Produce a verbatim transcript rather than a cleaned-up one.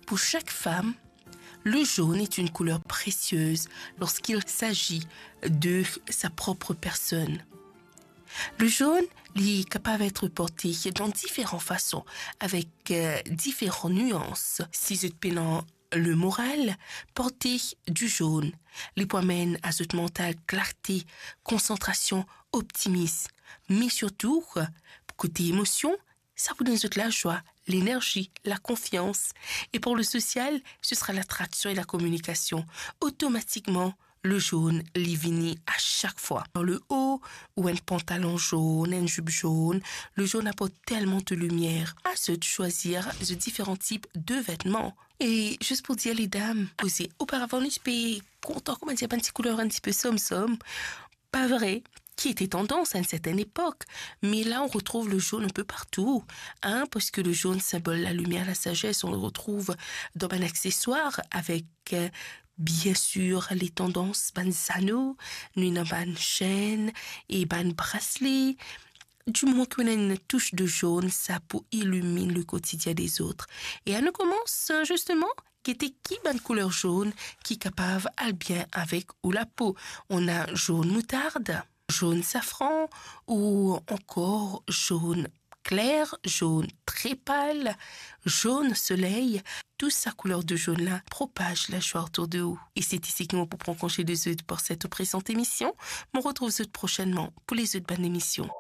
Pour chaque femme, le jaune est une couleur précieuse lorsqu'il s'agit de sa propre personne. Le jaune, li kapav et porte dan diferan fason, avek, euh, diferan nians. Si zot pena le moral, porte du jaune. Li pou amenn a zot mantal klarte, konsantrasion, optimis. Me sirtou, kote emosion, sa pou donn zot lazwa, lenerzi, lakonfians. E pour le social, ce sera l'attraction et la communication. Otomatikman, le jaune, li vini a sak fwa. Dan le haut ou enn pantalon jaune, enn zip jaune, le jaune aport telman de limier. A zot swazir zot diferan tip de vetman. E zis pou dir, les dames, koze oparavan nou ti pe kontan, koumadir, bann ti kouler enn ti pe somsom, pa vre, ki ete tandans a enn sertenn epok. Me la, on retrouve le jaune un peu partout, hein, parce que le jaune symbole la lumière, la sagesse, on le retrouve dans bann accessoires avec, euh, bien sûr, les tendances, bann zano, nou ena bann senn e bann brasle. Du moment qu'on a une touche de jaune, sa pou iliminn le quotidien des autres. E anou koumans, euh, justement, gete ki bann kouler jaune ki kapav al bien avek ou lapo. On a jaune moutarde, jaune safran ou ankor jaune clair, jaune très pâle, jaune soleil. Tou sa kouler de jaune la propaz lazwa otour de ou. E se isi ki mo pou pran konze de zot pour cette présente émission. Mo retrouv zot prochainement pour les autres bann emision.